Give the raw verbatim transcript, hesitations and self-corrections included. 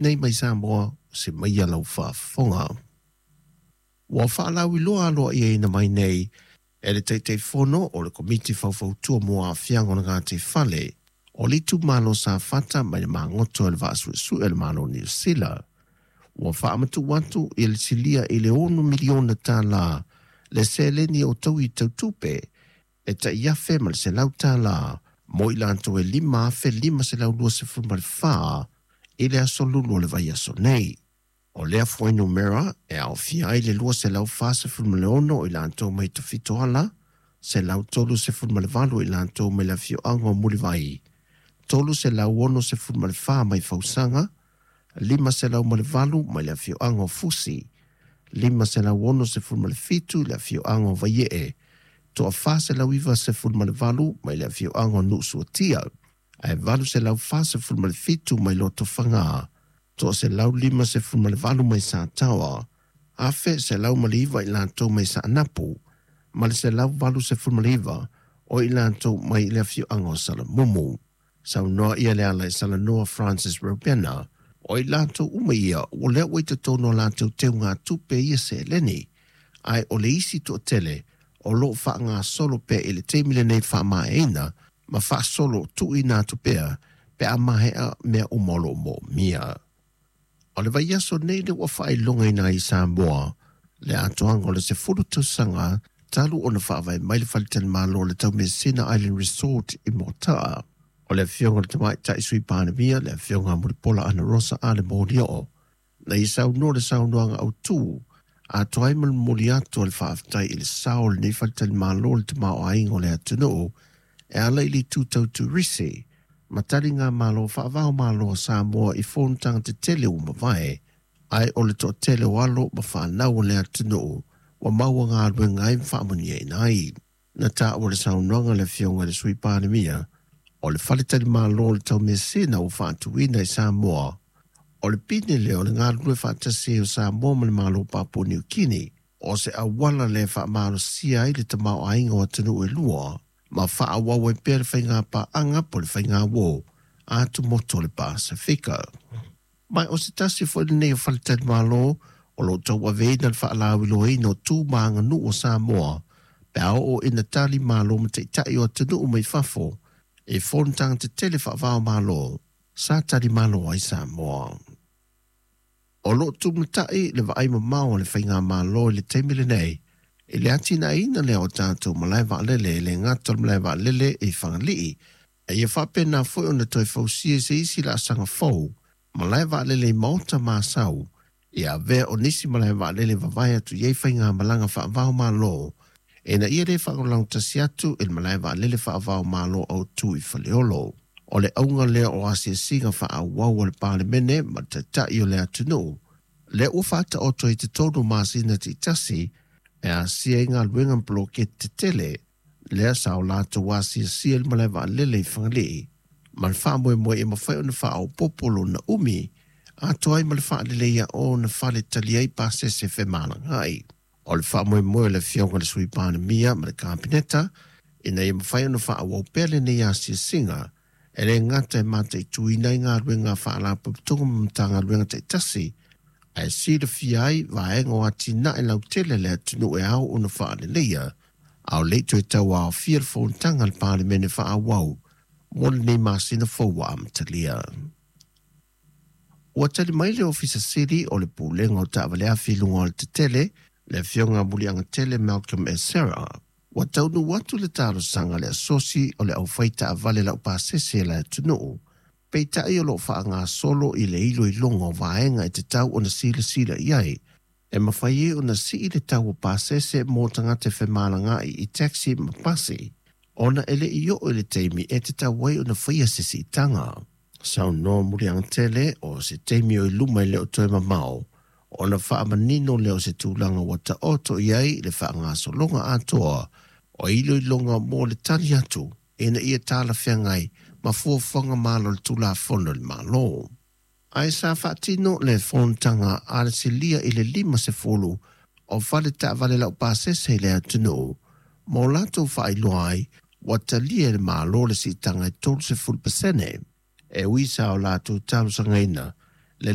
Nei mai Samoa se mai lau faafofoga. Ua faalauiloa aloaiaina mai nei e le Taitaifono o le Komiti Faufautua mo Aafiaga o le Gataifale o le itumalo Safata mai le magoto e le Vaasuesue a le Malo o Niu Sila. Ua faamatuu atu i le silia i le ono miliona tālā le seleni o taui tautupe e tai afe ma le selau tālā mo i latou e lima afe lima selau lua sefulu ma le fa i le aso Lulu o le vaiaso nei. O lea fuainumera e aofia ai le lua selau fa sefulu ma le ono i latou mai Tafitoala, selau tolu sefulu ma le valu i latou mai le afioaga o Mulivai, tolu selau ono sefulu ma le fa mai Fausaga, lima selau ma le valu mai le afioaga o Fusi, lima selau ono sefulu ma le fitu i le afioaga o Vaiee, toafa selau iva sefulu ma le valu mai le afioaga o Nuusuatia, ae valu selau fa sefulu ma le fitu mai Lotofaga, toa selau lima sefulu ma le valu mai Sataoa, afe selau ma le iva i latou mai Saanapu, ma le selau valu sefulu ma le iva o i latou mai le afioaga o Salamumu. Saunoa ia le ala e salanoa Francis Robena, o i latou uma ia ua lea ua i totonu o latou teugatupe ia seleni, ae o le isi toatele o loo faagasolo pea i le taimi lenei faamaeaina ma faasolo tuuina atu pea pe a maea mea uma o loo moomia. O le vaiaso nei le ua faailogaina ai i Samoa le atoaga o le sefulu tausaga talu ona faavae mai le faletalimalo o le Taumeasina Island Resort i Moataa. O le afioga o le Tamaitai Sui Palemia, le afioga Mulipola Anarosa Ale Molioo, na ia saunoa le saunoaga autū atoa ai ma le momoli atu o le faafetai i le sao o lenei faletalimalo i le tamaoaiga o le atunuu e ala i le itu tau turisi ma taligamalo faava-o-Malo a Samoa i fonotaga tetele ua mavae, ae o le toatele o alo ma fanau o le atunuu ua maua galuega ai ma faamanuiaina ai. Na taua le saunoaga le afioga i le Sui Palemia o le faletalimalo o le Taumeasina ua faatuina i Samoa, o le pine lea o le galulue faatasi ai o Samoa ma le Malo o Papua Niu Kini, o se auala lea e faamalosia ai le tamaoaiga o atunuu e lua ma faaauau ai pea le faigapaaga po o le faigauō a atumotu o le Pasefika. Ma o se tasi foi lenei o faletalimalo o loo tauaveina le faalauiloaina o tu ma aganuu o Samoa pe a oo ina tali malo ma taitai o atunuu mai fafo i fonotaga tetele faava-o-Malo sa tali malo ai Samoa. O loo tumatai le vaai mamao a le faigamalo i le taimi lenei i le atinaeina lea o tatou malae vaalele e le gata o le malae vaalele i Fagalii, a ia faapena foi ona toe fausia i se isi laasaga fou malae vaalele i Maota ma Asau, ia avea o nisi malae vaalele vavae atu i ai faigamalaga faava-o-Malo ina ia lē faalagolagotasi atu i le malae vaalele faava-o-Malo autū i Faleolo. O le auga lea o asiasiga faaauau a le Palemene ma le Taitai o le atunuu lea ua faataoto i totonu o masina taitasi e asia ai galuega ma poloketi tetele lea sa o latou asiasia i le malae vaalele i Fagalii ma le faamoemoe e mafai ona faaopoopo lona umi atoa ai ma le faaleleia o ona fale tali ai pasese femalagaai. O le faamoemoe o le afioga i le Sui Palemia ma le Kapeneta ina ia mafai ona faaauau pea lenei asiasiga e le gata e mataituina ai galuega a faalapotopotoga ma Matagaluega taitasi, ae silafia ai vaega o atinae lautele a le atunuu e ao ona faaleleia, a o le i toe tauaofia le fonotaga a le Palemene faaauau mo lenei masina fou ua amatalia. Ua tali mai le Ofisa Sili o le Pulega o Taavale Afi i luga o le tetele, le afioga Muliagatele Malcolm Esera, ua taunuu atu le talosaga a le asosi o le aufai taavale laupasese a le atunuu, peitai o loo faagasolo i le iloiloga o vaega e tatau ona silasila i ai e mafai ai ona sii le tau o pasese mo tagata e femalagaai i taxi ma pasi, ona e le i oo i le taimi e tatau ai ona faia se siitaga. Saunoa Muliagatele o se taimi o i luma e le o toe mamao ona faamanino lea o se tulaga ua taoto i ai le faagasologa atoa o iloiloga mo le tali atu ina ia talafeagai ma fuafuaga malo o le Tulafono a le Malo. Ae sa faatino le fonotaga a le silia i le lima sefulu o fale taavale laupasese i le atunuu ma o latou faailoa ai ua talia e le Malo le siitaga e tolu sefulu pasene e ui sa o latou talosagaina le